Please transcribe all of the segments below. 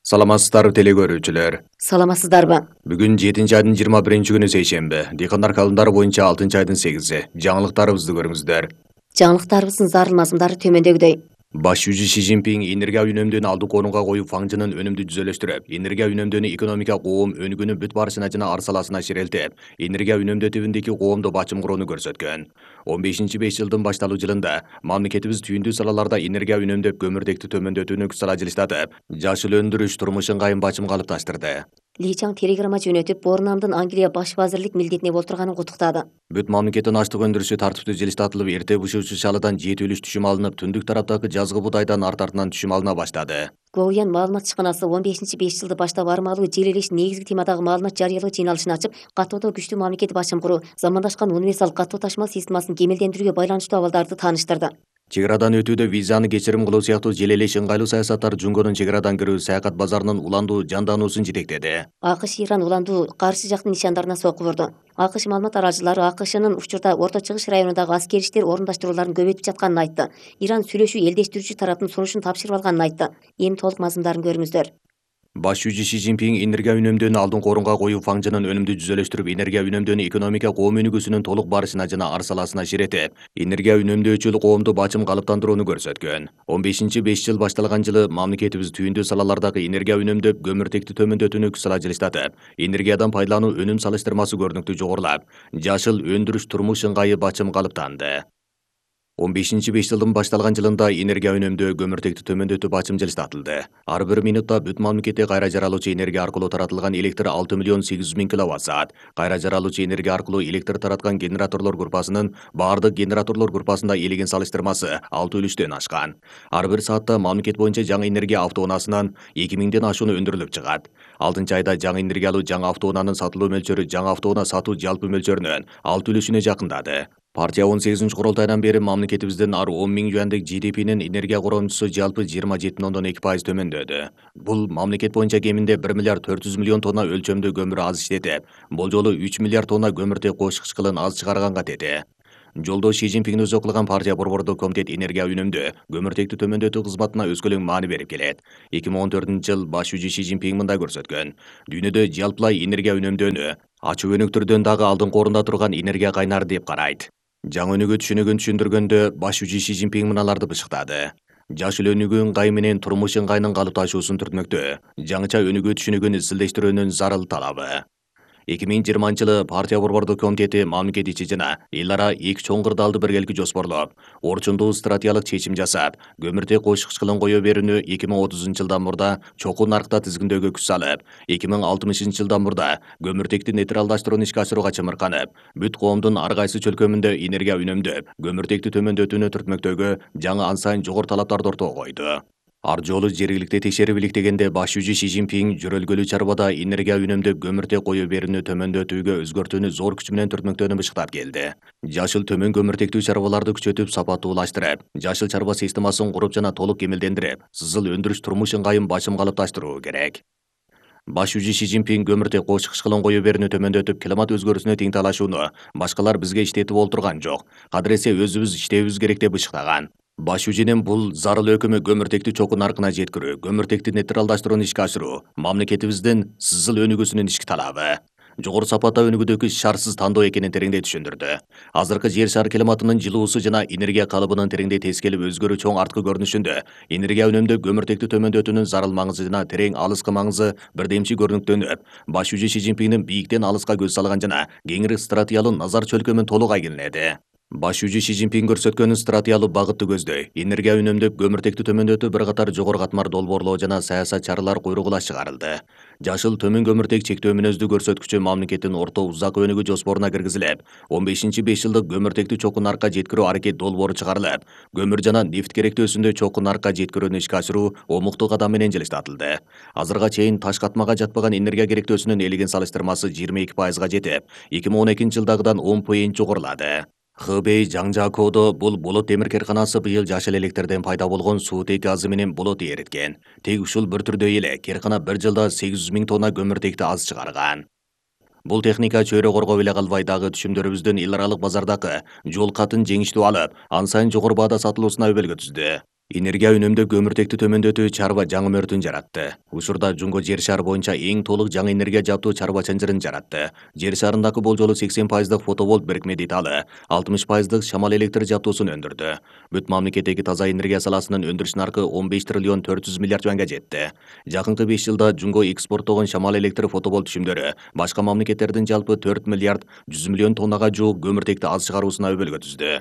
Саламатсыздарбы теле көрүүчүлөр. Саламатсыздарбы? Бүгүн 7-айдын 21-күнү сейшемби. Дыйкандар календары боюнча 6-айдын 8-и. Жаңылыктарыбызды көрүңүздөр. Жаңылыктарыбыздын зарыл мазмундары төмөндөгүдөй. Баш жүзү Си Цзиньпин энергия үнөмдөөнү алдыңкы орунга коюп, фаңжынын өнүмдү түзөлөштүрүп, энергия үнөмдөөнү экономика коом өнүгүүнүн бүт барышына жана ар саласына ширелтип, энергия үнөмдөтүүбүндөгү коомду бачым курууну көрсөткөн. 15-5 жылдын башталуу жылында мамлекетибиз түйүндүү салаларда энергия үнөмдөп, көмүртекти төмөндөтүүнү күч сала жылыштатып, жашыл өндүрүш, турмуш ыңгайын бачым калыпташтырды. Ли Чаң телеграмма жөнөтүп, Борнамдын Англия баш вазирлик милдетине болтурганын куттуктады. Бүт мамлекеттин аштык өндүрүшү тартиптүү жылыштатылып, эрте бышуучу шалыдан жети үлүш түшүм алынып, түндүк тараптагы жазгы буудайдан артынан түшүм алына баштады. Гоуян маалымат ишканасы 15-5 жылды баштап армалуу жер элеш негизги темадагы маалымат жарыялоо жыйналышын ачып, каттоодо күчтүү мамлекет бачым куруу, замандашкан универсал каттоо ташмал системасын кемелдендирүүгө байланыштуу абалдарды тааныштырды. Чек арадан өтүүдө визаны кечирим кылуу сыяктуу жел элеш ыңгайлуу саясаттар Жунгонун чек арадан кирүү саякат базарынын уландуу жандануусун жетектеди. АКШ Иран уландуу каршы жактын нишандарына сокку бурду. АКШ маалымат аралчылары АКШнын учурда Орто Чыгыш районундагы аскери иштер орундаштырууларын көбөйтүп жатканын айтты. Иран сүйлөшүү элдештирүүчү тараптын сунушун тапшырып алганын айтты. Эми толук мазмундарын көрүңүздөр. Баш жүзү Си Цзиньпин энергия үнөмдөөнү алдыңкы орунга коюп, фаңжынын өнүмдү түзөлөштүрүп, энергия үнөмдөөнү экономика коом өнүгүүсүнүн толук барышына жана ар саласына ширетип, энергия үнөмдөөчүл коомду бачым калыптандырууну көрсөткөн. 15-5 жыл башталган жылы мамлекетибиз түйүндүү салалардагы энергия үнөмдөп, көмүртекти төмөндөтүүнү күч сала жылыштатып, энергиядан пайдалануу өнүм салыштырмасы көрүнүктүү жогорулап, жашыл өндүрүш турмуш ыңгайы бачым калыптанды. 15-5 жылдын башталган жылында энергия үнөмдөө, көмүртекти төмөндөтүү бачым жылыштатылды. Ар бир минутта бүт мамлекетте кайра жаралуучу энергия аркылуу таратылган электр 6 миллион 800 000 киловатт-саат. Кайра жаралуучу энергия аркылуу электр тараткан генераторлор группасынын баардык генераторлор группасында элеген салыштырмасы 6 үлүштөн ашкан. Ар бир саатта мамлекет боюнча жаңы энергия автоунаасынан 2000ден ашууну өндүрүлүп чыгат. 6-айда жаңы энергиялуу жаңы автоунаанын сатылуу мөлчөрү жаңы автоунаа сатуу жалпы мөлчөрүнүн 6 үлүшүнө жакындады. Партия 18-курултайдан бери мамлекетибиздин ар 10 000 юандык GDP'нин энергия коромчусу жалпы 27,2% төмөндөдү. Бул мамлекет боюнча кеминде 1 миллиард 400 миллион тонна өлчөмдүү көмүр аз иштетип, бул жолу 3 миллиард тонна көмүртек кош кычкылын аз чыгарганга тети. Жолдо Си Цзиньпин өзү кылган партия борбордук комитет энергия үнөмдөө, көмүртекти төмөндөтүү кызматына өскөлөң маани берип келет. 2014-жыл баш жүзү Си Цзиньпин мындай көрсөткөн: дүйнөдө жалпылай энергия үнөмдөөнү ачуу өнүктүрүүдөн дагы алдыңкы орунда турган энергия кайнары деп карайт. Жаңы өнүгүү түшүнүгүн түшүндүргөндө баш жүзү Си Цзиньпин мыналарды бышыктады. Жашыл өнүгүү ыңгайы менен турмуш ыңгайынын калыпташуусун түртмөктөө, жаңыча өнүгүү түшүнүгүн изилдештирүүнүн зарыл талабы. 2020-жылы партия борбордук комитети мамлекет ичи жана эл ара эки чоң кырдаалды биргеликке жоспорлоп, орчундуу стратегиялык чечим жасап, көмүртек кош кычкылын кое берүүнү 2030-жылдан мурда чокуу наркта тизгиндөөгө күч салып, 2060-жылдан мурда көмүртекти нейтралдаштырууну ишке ашырууга чымырканып, бүт коомдун ар кайсы чөлкөмүндө энергия үнөмдөп, көмүртекти төмөндөтүүнү түртмөктөөгө жаңы ан сайын жогору талаптарды ортого койду. Ар жолу жергиликти текшерип иликтегенде баш жүзү Си Цзиньпин жөрөлгөлүү чарбада энергия үнөмдөп, көмүртек кое берүүнү төмөндөтүүгө өзгөртүүнү зор күч менен түртмөктөөнү бышыктап келди. Жашыл төмөн көмүртектүү чарбаларды күчөтүп, сапаттуулаштырып, жашыл чарба системасын куруп жана толук кемелдендирип, сызыл өндүрүш турмуш ыңгайын бачым калыпташтыруу керек. Баш жүзү Си Цзиньпин көмүртек кош кычкылын кое берүүнү төмөндөтүп, климат өзгөрүүсүнө тең талашууну башкалар бизге иштетип олтурган жок. Кадыресе өзүбүз иштебибиз керек деп бышыктаган. Баш жүзүнүн бул зарыл өкүмү көмүртекти чокуу наркына жеткирүү, көмүртекти нейтралдаштырууну ишке ашыруу, мамлекетибиздин сызыл өнүгүүсүнүн ички талабы. Жогору сапатта өнүгүүдөгү шарсыз тандоо экенин тереңдей түшүндүрдү. Азыркы жер шары климатынын жылуусу жана энергия калыбынын тереңдей тескелеп өзгөрүү чоң арткы көрүнүшүндө энергия үнөмдөп, көмүртекти төмөндөтүүнүн зарыл маңызы жана терең алыскы маңызы бирдемчи көрүнүктөнүп, баш жүзү Си Цзиньпиндин бийиктен алыска көз салган жана кеңири стратегиялуу назар чөлкөмүн толук айгинеледи. Баш жүзү Си Цзиньпин көрсөткөн стратегиялуу багытты көздөй, энергия үнөмдөп, көмүртекти төмөндөтүү бир катар жогору катмар долбоорлоо жана саясат чаралар куйругула чыгарылды. Жашыл төмөн көмүртек чектөө мүнөздүү көрсөткүчү мамлекеттин орто узак өнүгүү жоспоруна киргизилип, 15-5 жылдык көмүртекти чокуу наркка жеткирүү аракет долбоору чыгарылып, көмүр жана нефть керектөөсүндө чокуу наркка жеткирүүнү ишке ашыруу омуктуу кадам менен жылыштатылды. Азырга чейин таш катмага жатпаган энергия керектөөсүнүн элеген салыштырмасы 22%га жетип, 2012-жылдагыдан 10 жогорулады. Хэбэй Жаңжакоодо бул болот темир керканасы быйыл жашыл электрден пайда болгон суутек газы менен болот эриткен. Тек ушул бір түрдөй эле керкана бир жылда 800 000 тонна көмүртекти аз чыгарган. Бул техника чөйрө коргоп эле калбай, дагы түшүмдөрүбүздүн эл аралык базардагы жол катын жеңиштүү алып, ан сайын жогору баада сатылуусуна өбөлгө түздү. Энергия үнөмдөө көмүртекти төмөндөтүү чарба жаңы мөрдүн жаратты. Учурда Жунго жер шары боюнча эң толук жаңы энергия жаптуу чарба чанжырын жаратты. Жер шарындагы болжолу 80% фотоволт бирикме деталы, 60% шамал электр жаптуусун өндүрдү. Бүт мамлекеттеги таза энергия саласынын өндүрүш наркы 15 триллион 400 миллиард юанга жетти. Жакынкы 5 жылда Жунго экспорттогон шамал электр фотоволт түшүмдөрү башка мамлекеттердин жалпы 4 миллиард 100 миллион тоннага жуук көмүртекти аз чыгаруусуна өбөлгө түздү.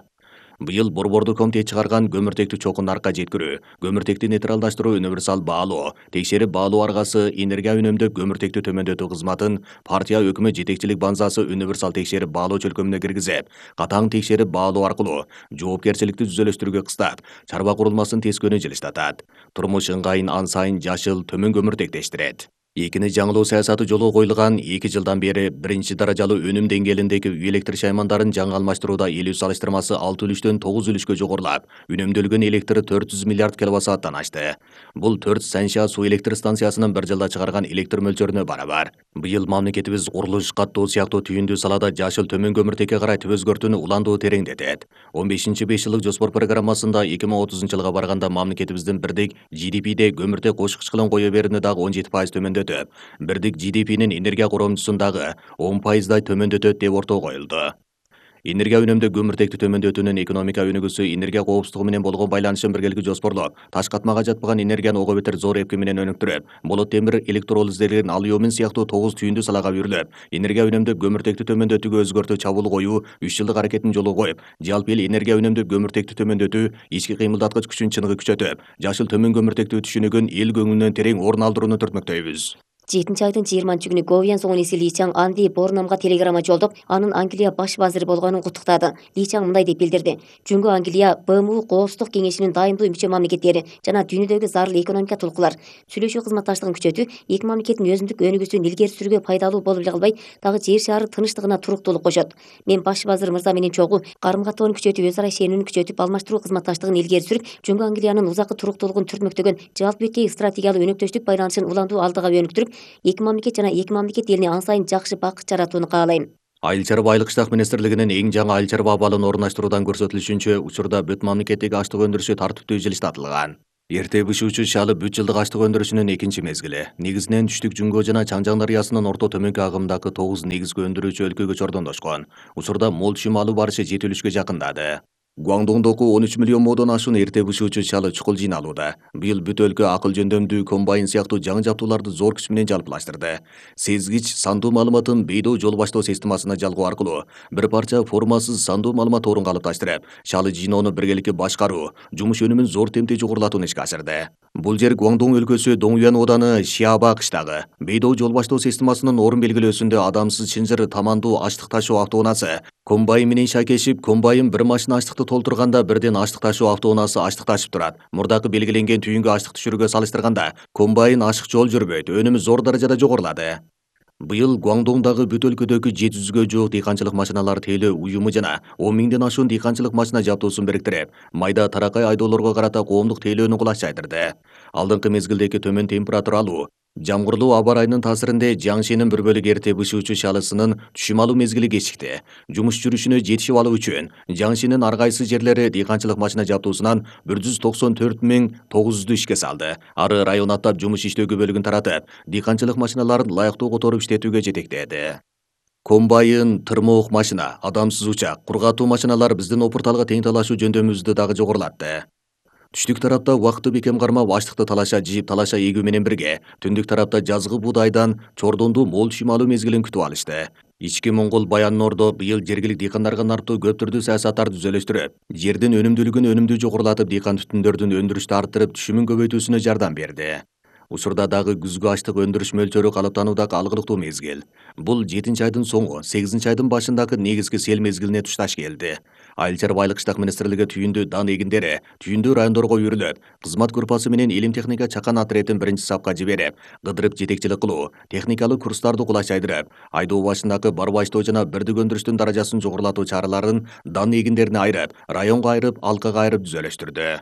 Быйыл Борбордук комитет чыгарган көмүртекти чокун наркка жеткирүү, көмүртекти нейтралдаштыруу универсал баалоо, текшерип баалоо аргасы энергия үнөмдөө көмүртекти төмөндөтүү кызматын партия өкмөт жетекчилик базасы универсал текшерип баалоо чөлкөмүнө киргизип, катаң текшерип баалоо аркылуу жоопкерчиликти түзөлөштүрүүгө кыстап, чарба курулмасын тескөөнү жылыштатат. Турмуш ыңгайын ан сайын жашыл, төмөн көмүртектештирет. Экини жаңылоо саясаты жолго коюлган 2 жылдан бери биринчи даражалуу өнүм деңгээлиндеги үй электр шаймандарын жаңы алмаштырууда элүү салыштырмасы 6 үлүштөн 9 үлүшкө жогорулап, үнөмдөлгөн электр 400 миллиард киловатт-сааттан ашты. Бул 4 Санша суу электр станциясынын bir жылда чыгарган электр мөлчөрүнө барабар. Быйыл мамлекетибиз курулуш, каттоо сыяктуу түйүндүү салада жашыл төмөн көмүртекке карай өзгөртүүнү уландуу тереңдетет. 15-5 жылдык жоспор программасында 2030 жылга барганда мамлекетибиздин бирдик GDP'де көмүртек кошкуч кылым кое берүүнү дагы 17% төмөндөтөт. Бирдик GDP'нин энергия коромчусун дагы 10%дай төмөндөтөт деп орто коюлду. Энергия үнөмдөө көмүртекти төмөндөтүүнүн экономика өнүгүүсү энергия коопсуздугу менен болгон байланышын биргеликте жоспорлоп, таш катмага жатпаган энергияны ого бетер зор эпки менен өнүктүрүп, болот темир электролиздерин алюмин сыяктуу 9 түйүндүү салага бүрүлүп, энергия үнөмдөө көмүртекти төмөндөтүүгө өзгөртүү чабуул коюу 3 жылдык аракетин жолго коюп, жалпы эл энергия үнөмдөө көмүртекти төмөндөтүү ички кыймылдаткыч күчүн чыныгы күчөтүп, жашыл төмөн көмүртекти түшүнүгүн эл көңүлүнөн терең орун алдырууну түртмөктөйбүз. 7 айдын 20 күнү Говьян Соңун эси Ли Чаң Анди Борнамга телеграмма жолдоп, анын Англия баш вазири болгонун куттуктады. Ли Чаң мындай деп билдирди: Жунго Англия БМУ Коопсуздук кеңешинин дайымдуу мүчө мамлекеттери жана дүйнөдөгү зарыл экономика tulкулар сүйлөшүү кызматташтыгын күчөтүү эки мамлекеттин өзүндүк өнүгүүсүн илгери сүрүүгө пайдалуу болуп эле калбай, дагы жер шаары тынчтыгына туруктуулук кошот. Мен баш вазир мырза менен чогуу карым-каттоону күчөтүп, өз ара ишенүүнү күчөтүп, алмаштыруу кызматташтыгын илгери сүрүп, Жунго Англиянын узаккы туруктуулугун түртмөктөгөн жалпы беткей стратегиялык өнөктөштүк байланышын уландуу алдыга өнүктүрүп, эки мамлекет жана эки мамлекет элине ан сайын жакшы бакыт жаратууну каалайм. Айыл чарба айыл кыштак министрлигинин эң жаңы айыл чарба абалын орундаштыруудан көрсөтүлүшүнчө, учурда бүт мамлекеттеги аштык өндүрүшү тартиптүү жылыштатылган. Эрте бышуучу шалы бүт жылдык аштык өндүрүшүнүн экинчи мезгили. Негизинен түштүк Жунго жана Чаңжаң дарыясынын орто төмөнкү агымдагы 9 негизги өндүрүүчү өлкөгө чордондошкон. Учурда мол түшүм алуу барышы жетилишке жакындады. Гуаңдоңдогу 13 миллион модон ашуун эрте бышуучу чалы чукул жыйналууда. Быйыл бүт өлкө акыл жөндөмдүү комбайн сыяктуу жаңы жабдууларды зор күч менен жалпылаштырды. Сезгич сандуу маалыматын бейдоо жол баштоо системасына жалгоо аркылуу бир парча формасыз сандуу маалымат орун калыпташтырып, шалы жыйноону биргеликте башкаруу, жумуш өнүмүн зор темпте жогорулатууну ишке ашырды. Бул жер Гуаңдоң өлкөсү Доңуян ооданы Шиаба кыштагы. Бейдоо жол баштоо системасынын орун белгилөөсүндө адамсыз чынжыр тамандуу аштык ташуу автоунаасы комбайн менен шакешип, комбайн бир машина аштыкты толтурганда бирден аштык ташуу автоунаасы аштык ташып турат. Мурдакы белгиленген түйүнгө аштык түшүрүүгө салыштырганда комбайн ашык жол жүрбөйт, өнүмү зор даражада жогорулады. Быйыл Гуаңдоңдагы бүт өлкөдөгү 700гө жуук дыйканчылык машиналар тейлөө уюму жана 10 миңден ашуун дыйканчылык машина жабдуусун бириктирип, майда таракай айдоолорго карата коомдук тейлөөнү кулаш жайдырды. Алдыңкы мезгилдеги төмөн температуралуу, жамгырлуу аба ырайынын таасиринде Жаңшенин бір бөлүгү эрте бышуучу шалысынын түшүм алуу мезгили кечикти. Жумуш жүрүшүнө жетишип алуу үчүн Жаңшенин ар кайсы жерлери дыйканчылык машина жабдуусунан 194.900 ишке салды. Ары район аттап жумуш иштөөгө бөлүгүн таратып, дыйканчылык машиналарын ылайыктуу которуп иштетүүгө жетектеди. Комбайн, тырмоок машина, адамсыз учак, кургатуу машиналар биздин опурталга тең талашуу жөндөмүбүздү дагы жогорулатты. Түштүк тарапта убакытты бекем кармап аштыкты талаша жыйып талаша эгүү менен бирге, түндүк тарапта жазгы буудайдан чордондуу мол түшүм алуу мезгилин күтүп алышты. Ички Моңгол Баян Ордо быйыл жергилик дыйкандарга нарптуу көп түрдүү саясаттарды түзөлөштүрүп, жердин өнүмдүүлүгүн өнүмдүү жогорулатып, дыйкан түтүндөрдүн өндүрүштү арттырып, түшүмүн көбөйтүүсүнө жардам берди. Учурда дагы күзгү аштык өндүрүш мөлчөрү калыптануудагы алгылыктуу мезгил. Бул 7-айдын соңу, 8-айдын башындагы негизги сел мезгилине тушташ келди. Айыл чарба айыл кыштак министрлиги түйүндүү дан эгиндери түйүндүү райондорго үйрүлүп, кызмат группасы менен илим техника чакан отрядын биринчи сапка жиберип, кыдырып жетекчилик кылуу, техникалык курстарды кулаш жайдырып, айдоо башындагы барбаштоо жана бирдик өндүрүштүн даражасын жогорулатуу чараларын дан эгиндерине айырып, районго айырып, алкага айырып түзөлөштүрдү.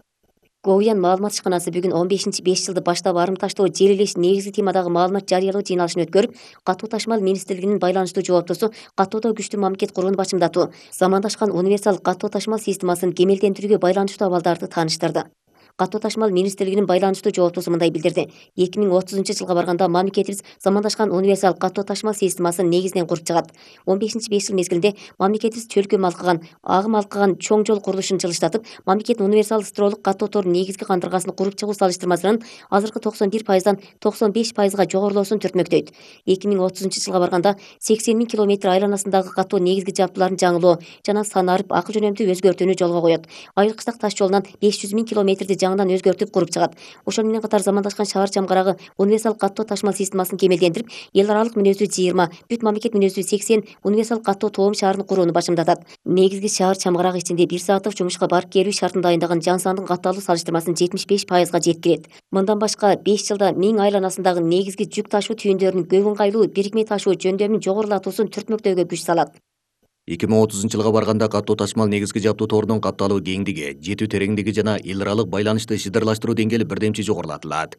Говьян маалымат ишканасы бүгүн 15-5 жылды баштап арым таштоо жер элеш негизги темадагы маалымат жарыялоо жыйналышын өткөрүп, катуу ташмал министрлигинин байланыштуу жооптосу каттоодо күчтүү мамлекет курууну бачымдатуу, замандашкан универсал каттоо ташмал системасын кемелдендирүүгө байланыштуу абалдарды тааныштырды. Катуу ташмал министрлигинин байланыштуу жооптусу мындай билдирди. 2030-жылга барганда мамлекетибиз замандашкан универсал катуу ташмал системасын негизинен куруп чыгат. 15-5 жыл мезгилинде мамлекетибиз чөлкөм алкаган, агым алкаган чоң жол курулушун жылыштатып, мамлекеттин универсал строолук каттоо торунун негизги кандыргасын куруп чыгуу салыштырмасынын азыркы 91%дан 95%га жогорулоосун түртмөктөйт. 2030-жылга барганда 80 000 километр айланасындагы каттоо негизги жабдууларын жаңылоо жана санарып акыл жөнөмдүү өзгөртүүнү жолго коет. Айыл кыштак таш жолунан 500 000 километрди жаңыдан өзгөртүп куруп чыгат. Ошону менен катар замандашкан шаар чамгарагы универсал каттоо ташмал системасын кемелдендирип, эл аралык мүнөздүү 20, бүт мамлекет мүнөздүү 80 универсал каттоо тоом шаарын курууну башымдатат. Негизги шаар чамгарагы ичинде 1 сааттык жумушка барып келүү шартын дайындаган жан сандын катталуу салыштырмасын 75%га жеткирет. Мындан башка 5 жылда Миң айланасындагы негизги жүк ташуу түйүндөрүнүн көп ыңгайлуу бирикме ташуу жөндөмүн жогорулатуусун түртмөктөөгө күч салат. 2030-жылга барганда каттуу ташмал негизги жабдуу торунун катталуу кеңдиги, жетүү тереңдиги жана эл аралык байланышты шыдырлаштыруу деңгээли бирдемчи жогорулатылат.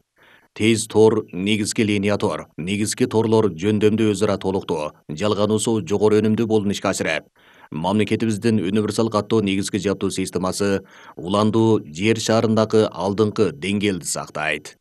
Тез тор, негизги линия тор, негизги торлор жөндөмдүү өзү ара толуктуу, жалгануусу жогору өнүмдүү болуун ишке ашырат. Мамлекетибиздин универсал каттоо негизги жабдуу системасы уландуу жер шарындагы алдыңкы деңгээлди сактайт.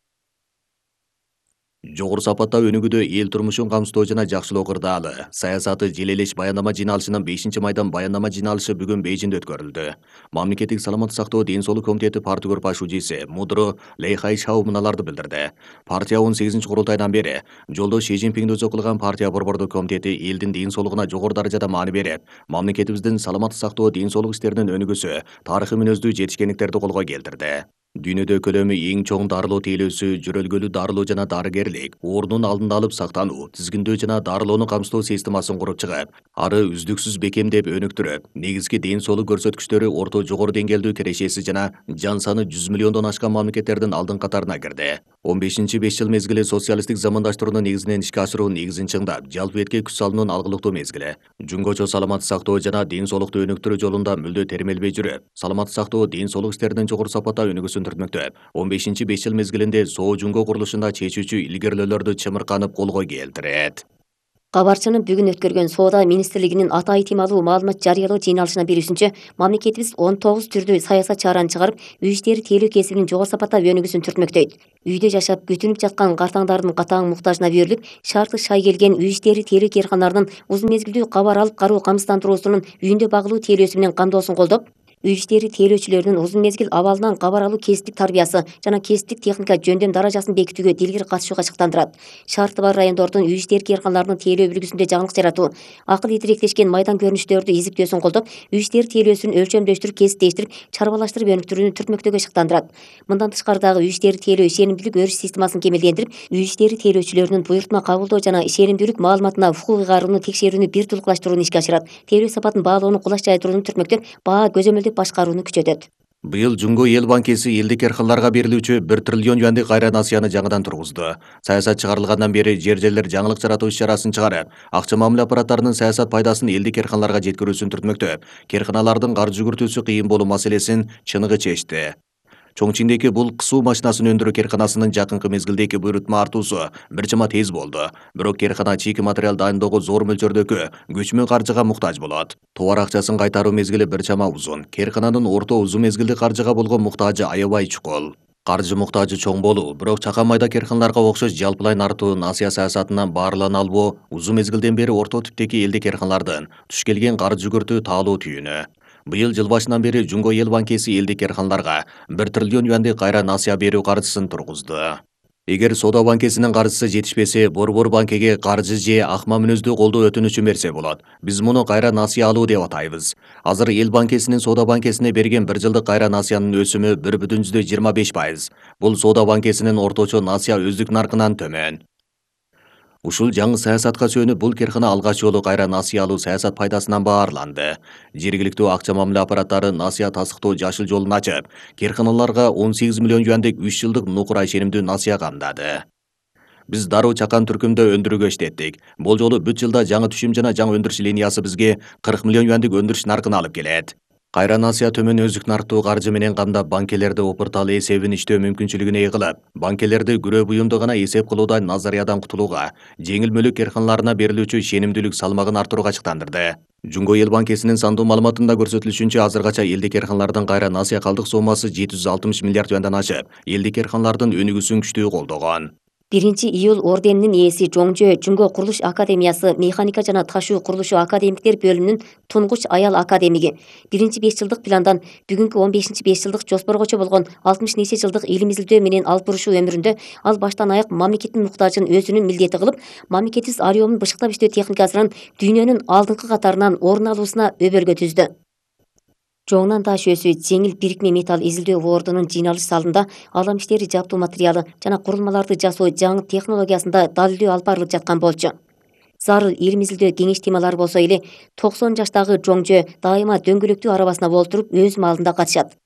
Жогору сапатта өнүгүүдө эл турмушун камсыздоо жана жакшылоо кырдаалы саясаты желелеш баяндама жыйналышынын 5-майдан баяндама жыйналышы бүгүн Бейжиңде өткөрүлдү. Мамлекеттик саламаттык сактоо ден соолук комитети партия групп шужиси Мудро Лейхайшау мыналарды билдирди. Партия 18-курултайдан бери жолдо Ши Цзиньпиңди өзү кылган партия борбордук комитети элдин ден соолугуна жогору даражада маани берип, мамлекетибиздин саламаттык сактоо ден соолук иштеринин өнүгүүсү, тарыхый мүнөздүү жетишкендиктерди колго келтирди. Дүйнөдө көлөмү эң чоң дарылоо тейлөөсү, жүрөлгөлүү дарылоо жана дарыгерлик, оорунун алдын алып сактануу, тизгиндөө жана дарылоону камсыздоо системасын куруп чыгып, ары үздүксүз бекемдеп өнүктүрүп, негизги ден соолук көрсөткүчтөрү орто жогору деңгээлдүү кирешеси жана жан саны 100 миллиондон ашкан мамлекеттердин алдын катарына кирди. 15-5 жыл мезгили социалисттик замандаштыруунун негизинен ишке ашыруу негизин чыңдап, жалпы этке күч салуунун алгылыктуу мезгили. Жөнгөчө саламаттык сактоо жана ден соолукту өнүктүрүү жолунда мүлдө термелбей жүрүп, саламаттык сактоо ден соолук иштеринин жогору сапатта өнүгүүсүн түртмөктөп, 15-5 жыл мезгилинде Соо Жуңго курулушунда чечүүчү илгерилөөлөрдү чымырканып колго келтирет. Кабарчынын бүгүн өткөргөн Соода министрлигинин ата айтымалуу маалымат жарыялоо жыйналышына берүүсүнчө, мамлекетибиз 19 түрдүү саясат чараны чыгарып, үй иштери тейлөө кесибинин жогору сапатта өнүгүүсүн түртмөктөйт. Үйдө жашап күтүнүп жаткан картаңдардын катаң муктажына берилип, шарты шай келген үй иштери тейлөө кээрканаларынын узун мезгилдүү кабар алып кароо камсыздандыруусунун үйүндө багылуу тейлөөсү менен камдоосун колдоп, үй иштери тейлөөчүлөрүнүн узун мезгил абалынан кабар алуу кесиптик тарбиясы жана кесиптик техника жөндөм даражасын бекитүүгө дилгир катышууга чыктандырат. Шарты бар райондордун үй иштери кээрканаларынын тейлөө үлгүсүндө жаңылык жаратуу, акыл идиректешкен майдан көрүнүштөрдү изиптөөсүн колдоп, үй иштери тейлөөсүн өлчөмдөштүрүп, кесиптештирип, чарбалаштырып өнүктүрүүнү түртмөктөөгө шыктандырат. Мындан тышкары дагы үй иштери тейлөө ишенимдүүлүк өрүш системасын кемелдендирип, үй иштери тейлөөчүлөрүнүн буйрутма кабылдоо жана ишенимдүүлүк маалыматына укук ыйгарууну текшерүүнү бир тулукташтырууну ишке ашырат. Тейлөө сапатын баалоону кулаш жайдырууну түртмөктөп, баа көзөмөлдөп башкарууну күчөтөт. Быйыл Жуңго эл банкеси элдик эрканларга берилүүчү 1 триллион юандык кайра насыяны жаңыдан тургузду. Саясат чыгарылгандан бери жер-жерлер жаңылык жаратуу иш-чарасын чыгарып, акча мамиле аппараттарынын саясат пайдасын элдик эрканларга жеткирүүсүн түртмөктөп, керканалардын каржы жүгүртүүсү кыйын болуу маселесин чыныгы чечти. Чоңчиңдеги бул кысуу машинасын өндүрүү керканасынын жакынкы мезгилдеги буйрутма артуусу бир чама тез болду. Бирок керкана чийки материал дайындоого зор мөлчөрдөгү көчмө каржыга муктаж болот. Товар акчасын кайтаруу мезгили бир чама узун. Керкананын орто узун мезгилдик каржыга болгон муктажы аябай чукул. Каржы муктажы чоң болуу, бирок чака майда керканаларга окшош жалпылай артуу насыя саясатынан баарылана албоо узун мезгилден бери орто типтеги элдик керканалардын туш келген каржы жүгүртүү таалуу түйүнү. Быйыл жыл башынан бери Жуңго эл банкеси элдик керканаларга 1 триллион юандык кайра насыя берүү каржысын тургузду. Эгер Соода банкесинин каржысы жетишпесе, Борбор банкеге каржы же акма мүнөздүү колдоо өтүнүчү берсе болот. Биз муну кайра насыя алуу деп атайбыз. Азыр эл банкесинин Соода банкесине берген 1 жылдык кайра насыянын өсүмү 1,25%. Бул Соода банкесинин орточо насыя өздүк наркынан төмөн. Ушул жаңы саясатка сүйөнүп, бул керкана алгач жолу кайра насыя алуу саясат пайдасынан баарланды. Жергиликтүү акча мамиле аппараттары насыя тасыктоо жашыл жолун ачып, керканаларга 18 миллион юандык 3 жылдык нукура ишенимдүү насыя камдады. Биз дароо чакан түркүмдө өндүрүүгө иштеттик. Бул жолу бүт жылда жаңы түшүм жана жаңы өндүрүш линиясы бизге 40 миллион юандык өндүрүш наркын алып келет. Кайра насыя төмөн өзүк нарктуу каржы менен камдап, банкелерди опуртал эсебин иштөө мүмкүнчүлүгүн ыйгылып, банкелерди күрөө буюмду гана эсеп кылуудан назариядан кутулууга, жеңил мүлк карканаларына берилүүчү ишенимдүүлүк салмагын арттырууга чыктандырды. Жумго Эл банкесинин сандуу маалыматында көрсөтүлүшүнчө, азыркача элдик карканалардын кайра насыя калдык соммасы 760 миллиард юандан ашып, элдик карканалардын өнүгүүсүн күчтүү колдогон. 1-iyul орденинин ээси Жоңжө Жумго Курулуш Академиясы механика жана ташуу курулушу академиктер бөлүмүнүн тунгуч аял академиги 1-5 жылдык пландан бүгүнкү 15-5 жылдык жоспоргочо болгон 60 нече жылдык илим изилдөө менен алып бурушуу өмүрүндө ал баштан аяк мамлекеттин муктажын өзүнүн милдети кылып, мамлекетибиз ареомун бышыктап иштөө техникасынын дүйнөнүн алдыңкы катарынан орун алуусуна өбөлгө түздү. Жоңунан таш өсү, жеңил бирикме металл изилдөө бордунун жыйналыш залында алам иштери жаптуу материалы жана курулмаларды жасоо жаңы технологиясында далилдөө алып барылып жаткан болчу. Зарыл илим изилдөө кеңеш темалары болсо эле 90 жаштагы Жоңжө дайыма дөңгөлөктүү арабасына болтуруп өз маалында катышат.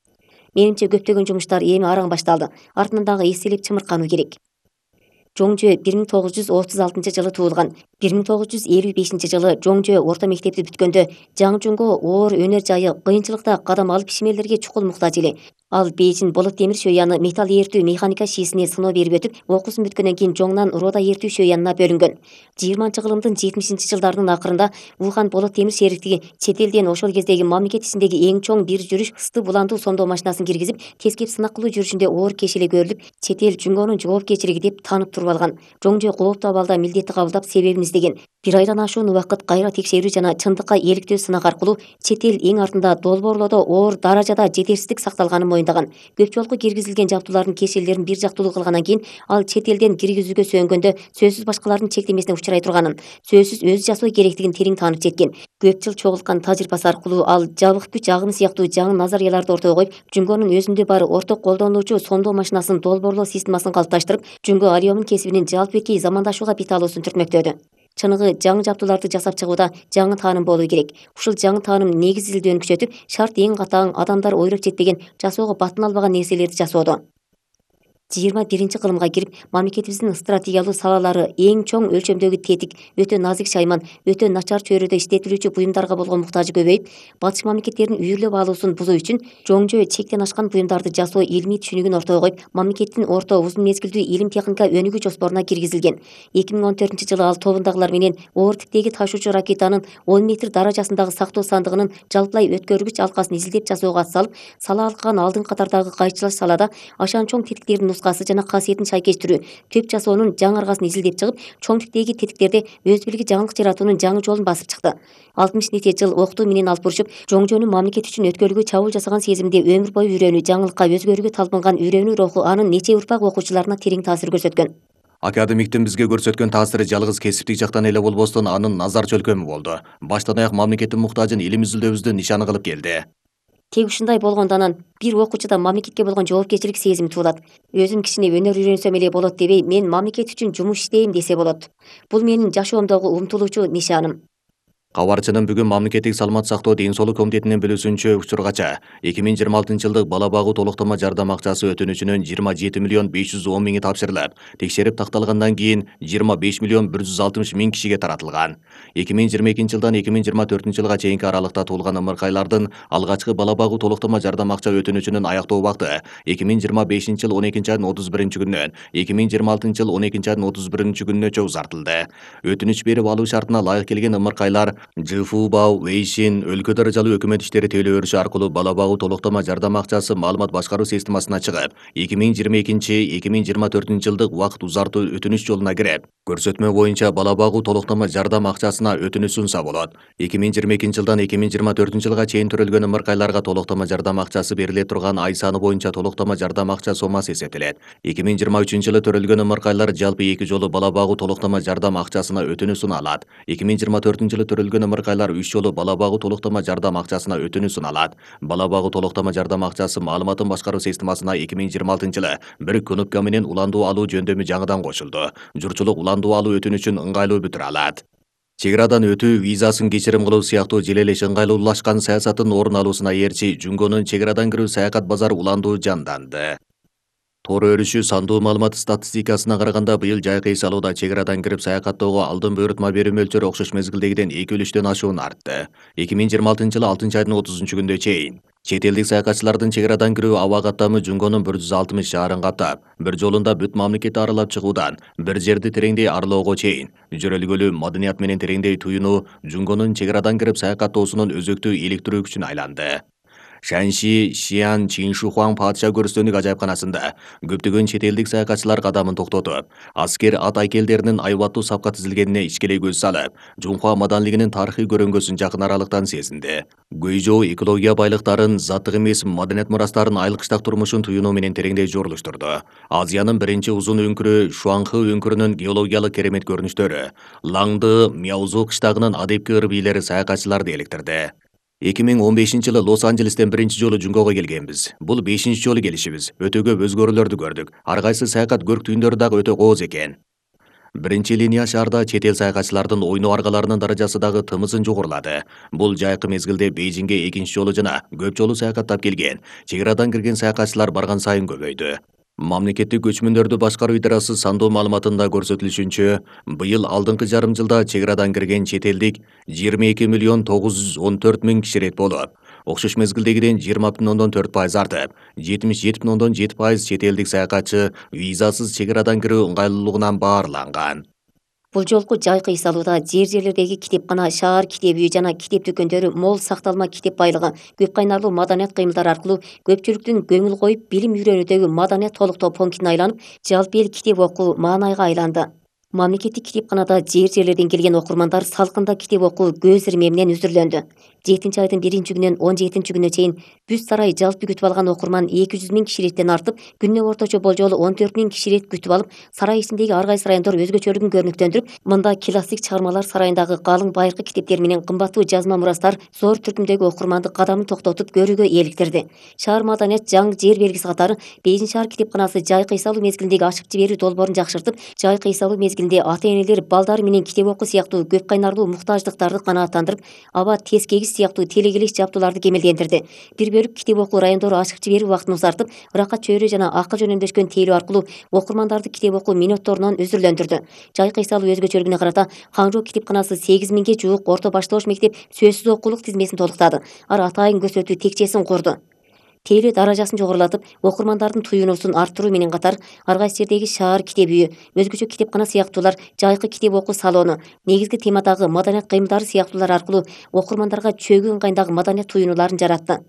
Менимче көптөгөн жумуштар эми араң башталды. Артынан дагы эстелеп чымыркануу керек. Жоңжө 1936 жылы туулган. 1955 жылы Жоңжө орто мектепти бүткөндө Жаңжунго оор өнөр жайы кыйынчылыкта кадам алып ишмерлерге чукул муктаж эле. Ал Бейжин болот темир шөяны металл эртүү механика шиисине сыноо берип өтүп, окуусун бүткөндөн кийин Жоңнан рода эртүү шөянына бөлүнгөн. 20-кылымдын 70-жылдарынын акырында Ухан болот темир шериктиги чет элден ошол кездеги мамлекет ичиндеги эң чоң бир жүрүш ысты буландуу сомдоо машинасын киргизип, тескеп сынак кылуу жүрүшүндө оор кешеле көрүлүп, чет эл Жумгонун жоопкерчилиги деп таанып туруп алган. Жоңжө кооптуу абалда милдетти кабылдап, себебин издеген. 1 айдан ашуун убакыт кайра текшерүү жана чындыкка иликтөө сынак аркылуу чет эл эң артында долбоорлоодо оор даражада жетерсиздик сакталганын моюндаган. Көп жолку киргизилген жабдуулардын кешелерин бир жактуулуу кылгандан кийин ал чет элден киргизүүгө сөөнгөндө сөзсүз башкалардын чектемесине учурай турганын, сөзсүз өзү жасоо керектигин терең таанып жеткен. Көп жыл чогулткан тажрыйбасы аркылуу ал жабык күч агымы сыяктуу жаңы назарияларды ортого коюп, Жумгонун өзүндө бар орток колдонулуучу сомдоо машинасынын долбоорлоо системасын калыпташтырып, Жумго ареомун кесибинин жалпы эркий замандашууга бет алуусун түртмөктөдү. Чыныгы жаңы жабдууларды жасап чыгууда жаңы тааным болуу керек. Ушул жаңы тааным негиз изилдөөнү күчөтүп, шарт эң катаң, адамдар ойлоп жетпеген, жасоого батын албаган нерселерди жасоодо. 21-кылымга кирип, мамлекетибиздин стратегиялуу салалары эң чоң өлчөмдөгү тетик, өтө назик шайман, өтө начар чөйрөдө иштетилүүчү буюмдарга болгон муктажы көбөйүп, батыш мамлекеттердин үйүрлөп алуусун бузуу үчүн Жоңжө чектен ашкан буюмдарды жасоо илимий түшүнүгүн ортого коюп, мамлекеттин орто узун мезгилдүү илим техника өнүгүү жоспоруна киргизилген. 2014-жылы ал тобундагылар менен оор типтеги ташуучу ракетанын 10 метр даражасындагы сактоо сандыгынын жалпылай өткөргүч алкасын изилдеп жасоого ат салып, сала алкаган алдыңкы катардагы кайчылаш салада ашан чоң тетиктердин нускасы жана касиетин шайкештирүү, төп жасоонун жаңы аргасын изилдеп чыгып, чоң типтеги тетиктерде өз билги жаңылык жаратуунун жаңы жолун басып чыкты. 60 нече жыл окутуу менен алып бурушуп, Жоңжөнүн мамлекет үчүн өткөрүүгө чабуул жасаган сезимде өмүр бою үйрөнүү, жаңылыкка өзгөрүүгө талпынган үйрөнүү руху анын нече урпак окуучуларына терең таасир көрсөткөн. Академиктин бизге көрсөткөн таасири жалгыз кесиптик жактан эле болбостон, анын назар чөлкөмү болду. Баштан аяк мамлекеттин муктажын илим изилдөөбүздүн нишаны кылып келди. Тек ушундай болгондон бир окуучуда мамлекетке болгон жоопкерчилик сезими туулат. Өзүм кичине өнөр үйрөнсөм эле болот дебей, мен мамлекет үчүн жумуш иштейм десе болот. Бул менин жашоомдогу умтулуучу нишаным. Кабарчынын бүгүн мамлекеттик саламат сактоо ден соолук комитетинин билүүсүнчө, учургача 2026 жылдык бала багуу толуктама жардам акчасы өтүнүчүнүн 27 миллион 510 миңи тапшырылып, текшерип такталгандан кийин 25 миллион 160 миң кишиге таратылган. 2022 жылдан 2024 жылга чейинки аралыкта туулган ымыркайлардын алгачкы бала багуу толуктама жардам акча өтүнүчүнүн аяктоо убакыты 2025 жыл 12 айдын 31 күнүнөн 2026 жыл 12 айдын 31 күнүнө узартылды. Өтүнүч берип алуу шартына ылайык келген ымыркайлар ЖФУ-бау, Вейшин, өлкө даражалуу өкмөт иштери тейлөө өрүшү аркылуу бала багуу толуктама жардам акчасы маалымат башкаруу системасына чыгып, 2022-2024 жылдык убакыт узартуу өтүнүч жолуна кирип, көрсөтмө боюнча бала багуу толуктама жардам акчасына өтүнүч сунса болот. 2022 жылдан 2024 жылга чейин төрөлгөн ымыркайларга толуктама жардам акчасы бериле турган ай саны боюнча толуктама жардам акча сомасы эсептелет. 2023 жылы төрөлгөн ымыркайлар жалпы 2 жолу бала багуу толуктама жардам акчасына өтүнүч суна алат. 2024 жылы төрөлгөн ымыркайлар 3 жолу бала багуу толуктама жардам акчасына өтүнүч суна алат. Бала багуу толуктама жардам акчасы маалыматын башкаруу системасына 2026 жылы бир кнопка менен уландуу алуу жөндөмү жаңыдан кошулду. Журтчулук уландуу алуу өтүнүчүн ыңгайлуу бүтүрө алат. Чек арадан өтүү, визасын кечирим кылуу сыяктуу желелеш ыңгайлуулашкан саясаттын орун алуусуна ээрчи Жумгонун чек арадан кирүү саякат базары уландуу жанданды. Тоор өрүшү сандуу маалымат статистикасына караганда быйыл жайкы эс алууда чек арадан кирип саякаттоого алдын буйрутма берүү мөлчөрү окшош мезгилдегиден 2,3 ашуун артты. 2026-жылы 6-айдын 30-күндө чейин чет элдик саякатчылардын чек арадан кирүү аба каттамы Жунгонун 160 шаарын каптап, бир жолунда бүт мамлекетти аралап чыгуудан бир жерди тереңдей аралоого чейин жөрөлгөлүү маданият менен тереңдей туюнуу Жунгонун чек арадан кирип саякаттоосунун өзөктүү иликтирүү күчүнө айланды. Шанши Шиан Чиншухуан падыша көрүстөнүк ажайыпканасында көптөгөн чет элдик саякатчылар кадамын токтотуп, аскер ат айкелдеринин айбаттуу сапка тизилгенине ичкелей көз салып, Жунхуа маданилигинин тарыхый көрөнгөсүн жакын аралыктан сезинди. Гуйжоу экология байлыктарын, заттык эмес маданият мурастарын айылкыштак турмушун туюнуу менен тереңдей жорлуштурду. Азиянын биринчи узун өңкүрү Шуанхы өңкүрүнүн геологиялык керемет көрүнүштөрү, Лаңды Мяузу кыштагынын адепки ыр бийлери саякатчыларды эликтирди. 2015-жылы Лос-Анджелестен биринчи жолу Жунгоого келгенбиз. Бул 5-чи жолу келишибиз. Өтө көп өзгөрүүлөрдү көрдүк. Ар кайсы саякат көрктүйүндөрү дагы өтө кооз экен. Биринчи линия шаарда чет эл саякатчылардын ойноо аргаларынын даражасы дагы тымызын жогорулады. Бул жайкы мезгилде Бейжиңге 2-чи жолу жана көп жолу саякаттап келген, чек арадан кирген саякатчылар барган сайын көбөйдү. Мамлекеттик көчмөндөрдү башкаруу идарасы сандуу маалыматында көрсөтүлүшүнчө, быйыл алдыңкы жарым жылда чек арадан кирген чет элдик 22,914,000 киши рет болуп, окшош мезгилдегиден 20,4% артып, 77,7% чет элдик саякатчы визасыз чек арадан кирүү ыңгайлуулугунан баарланган. Бул жолку жайкы эс алууда жерлердеги китепкана, шаар китеп үйү жана китеп дүкөндөрү мол сакталма китеп байлыгы, көп кайнарлуу маданият кыймылдары аркылуу көпчүлүктүн көңүл коюп билим үйрөнүүдөгү маданият толуктоо пунктуна айланып, жалпы эл китеп окуу маанайга айланды. Мамлекеттик китепканада жер-жерлерден келген окурмандар салкында китеп окуу көз ирме менен үзүрлөндү. 7-айдын 1-күнүнөн 17-күнүнө чейин Бүс сарай жалпы күтүп алган окурман 200,000 киши реттен артып, күнүнө орточо болжолу 14,000 киши рет күтүп алып, сарай ичиндеги ар кайсы райондор өзгөчөлүгүн көрүнүктөндүрүп, мында классик чыгармалар сарайындагы калың байыркы китептер менен кымбаттуу жазма мурастар зор түркүмдөгү окурманды кадамын токтотуп көрүүгө ээликтирди. Шаар маданият жаңы жер белгиси катары Бейжиң шаар китепканасы жайкы эс алуу мезгилиндеги ачып жиберүү долбоорун жакшыртып, жайкы эс алуу мезгилинде ата-энелер балдары менен китеп окуу сыяктуу көп кайнарлуу муктаждыктарды канааттандырып, аба тез кегис сыяктуу телегелеш жабдууларды кемелдендирди. Бир бөлүк китеп окуу райондору ачык жиберүү убактын узартып, ыракка чөйрө жана акыл жөнөмдөшкөн тейлөө аркылуу окурмандарды китеп окуу минутторунан үзүрлөндүрдү. Жайкы эс алуу өзгөчөлүгүнө карата Хаңжоо китепканасы 8,000 жуук орто башталыш мектеп сөзсүз окуулук тизмесин толуктады. Ар атайын көрсөтүү текчесин курду. Тейлөө даражасын жогорулатып, окурмандардын туюнуусун арттыруу менен катар, ар кайсы жердеги шаар китеп үйү, өзгөчө китепкана сыяктуулар, жайкы китеп окуу салону, негизги темадагы маданият кыймылдары сыяктуулар аркылуу окурмандарга чөгүү ыңгайындагы маданият туюнуларын жаратты.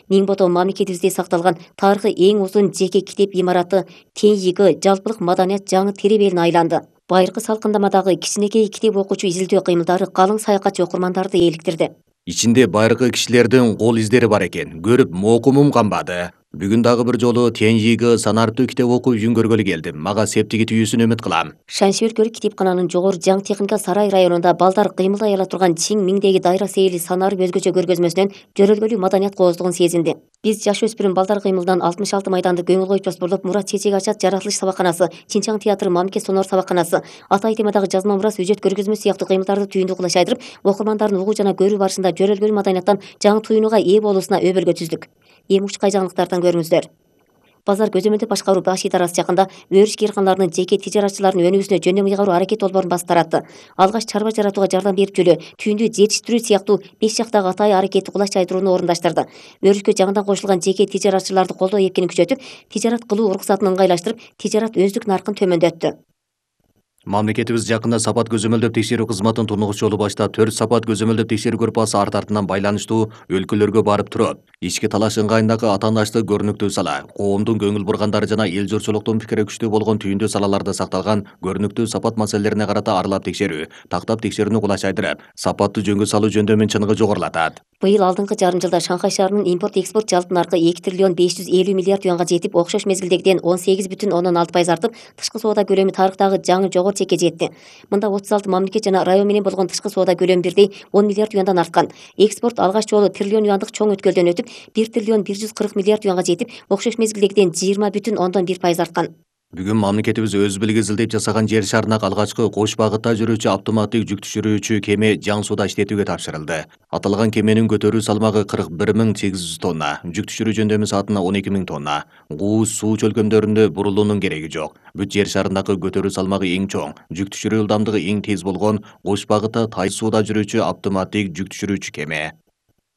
Ниңбото мамлекетибизде сакталган тарыхы эң узун жеке китеп имараты Теньйигы жалпылык маданият жаңы теребелине айланды. Байыркы салкындамадагы кичинекей китеп окуучу изилдөө кыймылдары калың саякатчы окурмандарды ээликтирди. Ичинде байыркы кишилердин кол издери бар экен. Көрүп моокумум канбады. Бүгүн дагы бир жолу Теньйиги санариптүү китеп окуу үйүн көргөлү келдим. Мага септиги түйүүсүн үмүт кылам. Шанши өлкөлүк китепкананын жогору жаңы техника сарай районунда балдар кыймылдай ала турган чиң миңдеги дайра сейили санарып өзгөчө көргөзмөсүнөн жөрөлгөлүү маданият кооздугун сезинди. Биз жаш өспүрүм балдар кыймылынан 66 майданды көңүл коюп жоспорлоп, Мурат чечек ачат жаратылыш сабакканасы, Чинчаң театры мамлекет сонор сабакканасы, Атай темадагы жазма мурас үжөт көргөзмө сыяктуу кыймылдарды түйүндү кылыш айдырып, окурмандардын угуу жана көрүү барышында жөрөлгөлүү маданияттан жаңы туюнууга ээ болуусуна өбөлгө түздүк. Эми учкай жаңылыктардан көрүңүздөр. Базар көзөмөлдөө башкаруу баш идарасы жакында өрүш кыйрканаларынын жеке тижаратчылардын өнүгүүсүнө жөндөм ыйгаруу аракет долбоорун басып таратты. Алгач чарба жаратууга жардам берип жөлө, түйүндү жетиштирүү сыяктуу 5 жактагы Атай аракети кулач айдырууну орундаштырды. Өрүшкө жаңыдан кошулган жеке тижаратчыларды колдоо эпкени күчөтүп, тижарат кылуу уруксатын ыңгайлаштырып, тижарат өздүк наркын төмөндөттү. Мамлекетибиз жакында сапат көзөмөлдөп текшерүү кызматын тунугуч жолу баштап, 4 сапат көзөмөлдөп текшерүү группасы арт-артынан байланыштуу өлкөлөргө барып туруп, ички талаш ыңгайындагы атаандашты көрүнүктүү сала, коомдун көңүл бургандары жана эл журтчулуктун пикири күчтүү болгон түйүндүү салаларда сакталган көрүнүктүү сапат маселелерине карата аралап текшерүү, тактап текшерүүнү кулач айдырып, сапаттуу жөнгө салуу жөндөмүн чыныгы жогорулатат. Быйыл алдыңкы жарым жылда Шанхай шаарынын импорт-экспорт жалпы наркы 2 триллион 550 миллиард юанга жетип, окшош мезгилдегиден 18,6% артып, тышкы соода көлөмү тарыхтагы жаңы жогору чекке жетти. Мында 36 мамлекет жана район менен болгон тышкы соода көлөмү бирдей 10 миллиард юандан арткан. Экспорт алгач жолу триллион юандык чоң өткөлдөн өтүп, 1 триллион 140 миллиард юанга жетип, окшош мезгилдегиден 20,1% арткан. Бүгүн мамлекетибиз өз билиги изилдеп жасаган жер шарына алгачкы кош багытта жүрүүчү автоматтык жүк түшүрүүчү кеме Жан сууда иштетүүгө тапшырылды. Аталган кеменин көтөрүү салмагы 41.800 тонна, жүк түшүрүү жөндөмү саатына 12.000 тонна. Кууз суу чөлкөмдөрүндө бурулуунун кереги жок. Бүт жер шарындагы көтөрүү салмагы эң чоң, жүк түшүрүү ылдамдыгы эң тез болгон кош багытта Тай сууда жүрүүчү автоматтык жүк түшүрүүчү кеме.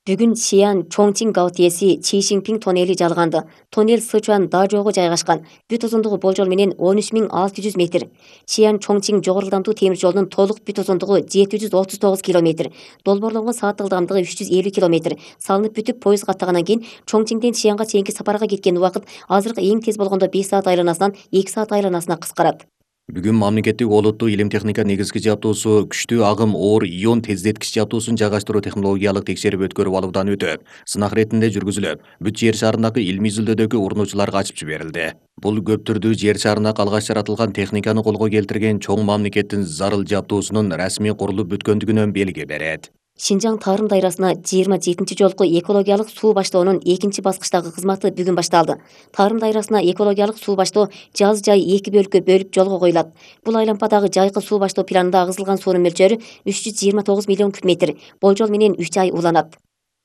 Бүгүн Сиан Чоңчиң гаотиеси Чишиңпиң тоннели жалганды. Тоннел Сычуан Дажоого жайгашкан. Бүт узундугу болжол менен 13.600 метр. Сиан Чоңчиң жогору ылдамдуу темир жолунун толук бүт узундугу 739 километр. Долбоорлонгон сааттык ылдамдыгы 350 километр. Салынып бүтүп поезд каттагандан кийин Чоңчиңден Сианга чейинки сапарга кеткен убакыт азыркы эң тез болгондо 5 саат айланасынан 2 саат айланасына кыскарат. Бүгүн мамлекеттик олуттуу илим техника негизги жабдуусу күчтүү агым оор ион тездеткич жабдуусун жайгаштыруу технологиялык текшерип өткөрүп алуудан өтүп, сынак иретинде жүргүзүлүп, бүт жер шарындагы илмий изилдөөдөгү урунуучуларга ачып жиберилди. Бул көп түрдүү жер шарына алгач жаратылган техниканы колго келтирген чоң мамлекеттин зарыл жабдуусунун расмий курулуп бүткөндүгүнөн белги берет. Шинжаң Тарым дайрасына 27 жолку экологиялык суу баштоонун экинчи баскычтагы кызматы бүгүн башталды. Тарым дайрасына экологиялык суу баштоо жаз жай 2 бөлүккө бөлүп жолго коюлат. Бул айлампадагы жайкы суу баштоо планында агызылган суунун мөлчөрү 329 миллион куб метр. Болжол менен 3 ай уланат.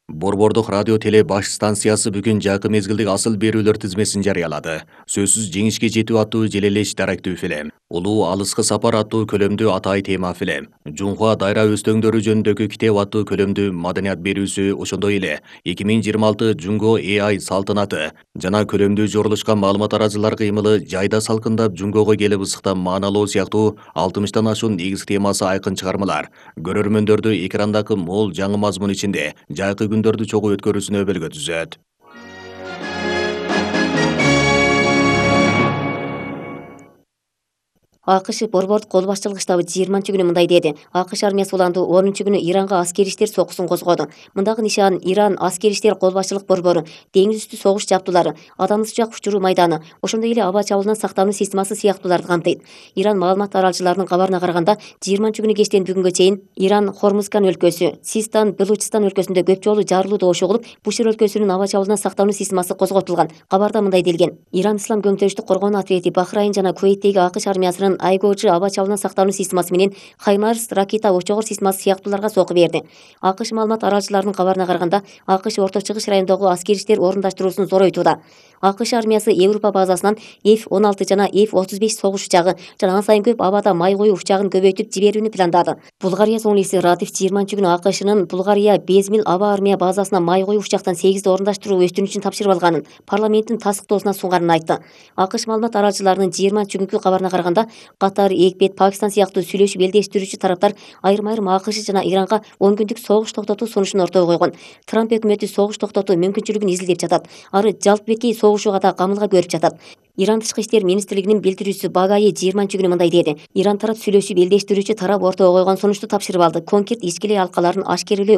Борбордук радио теле баш станциясы бүгүн жакын мезгилдик асыл берүүлөр тизмесин жарыялады. Сөзсүз жеңишке жетүү аттуу желелеш даректүү фильм, Улуу алыскы сапар аттуу көлөмдүү атай тема фильм, Жунхуа дайра өстөңдөрү жөнүндөгү китеп аттуу көлөмдүү маданият берүүсү, ошондой эле 2026 Жунго AI салтанаты жана көлөмдүү жорулушкан маалымат арачылар кыймылы жайда салкындап Жунгого келип ысыктап мааналоо сыяктуу 60тан ашуун негизги темасы айкын чыгармалар көрөрмөндөрдү экрандагы мол жаңы мазмун ичинде жайкы күндөрдү чогуу өткөрүүсүнө өбөлгө түзөт. АКШ борбордук кол башчылык штабы 20-күнү мындай деди. АКШ армиясы уланды 10-күнү Иранга аскери иштер сокусун козгоду. Мындагы нишан Иран аскери иштер кол башчылык борбору, деңиз үстү согуш жабдуулары, адам сычак учуруу майданы, ошондой эле аба чабуулунан сактануу системасы сыяктууларды камтыйт. Иран маалымат таралчыларынын кабарына караганда 20-күнү кечтен бүгүнгө чейин Иран Хормузган өлкөсү, Систан, Белучистан өлкөсүндө көп жолу жарылуу добуш угулуп, Бушир өлкөсүнүн аба чабуулунан сактануу системасы козготулган. Кабарда мындай делген: Иран Ислам көмүктөштүк коргоонуу отряди Бахрайн жана Кувейттеги АКШ армиясынын Айгоджи аба чабуулунан сактануу системасы менен Хаймарс ракета очогор системасы сыяктууларга сокку берди. АКШ маалымат аралчыларынын кабарына караганда, АКШ Орто Чыгыш районундагы аскери иштер орундаштыруусун зоройтууда. АКШ армиясы Европа базасынан F-16 жана F-35 согуш учагы жана ан сайын көп абада май коюу учагын көбөйтүп жиберүүнү пландады. Булгария зонлиси Радиф 20-күнү АКШнын Булгария Безмил аба армия базасына май коюу учактан 8 орундаштыруу өстүрүнүчүн тапшырып алганын, парламенттин тастыктоосуна сунганын айтты. АКШ маалымат аралчыларынын 20-күнкү кабарына караганда, Катар, Египет, Пакистан сыяктуу сүйлөшүп элдештирүүчү тараптар айрым АКШ жана Иранга 10 күндүк согуш токтотуу сунушун ортого койгон. Трамп өкмөтү согуш токтотуу мүмкүнчүлүгүн изилдеп жатат. Ары жалпы беткей согушууга да камылга көрүп жатат. Иран тышкы иштер министрлигинин билдирүүчүсү Багаи 20-күнү мындай деди. Иран тарап сүйлөшүп элдештирүүчү тарап ортого койгон сунушту тапшырып алды. Конкрет ички эле алкаларын ашкерелөө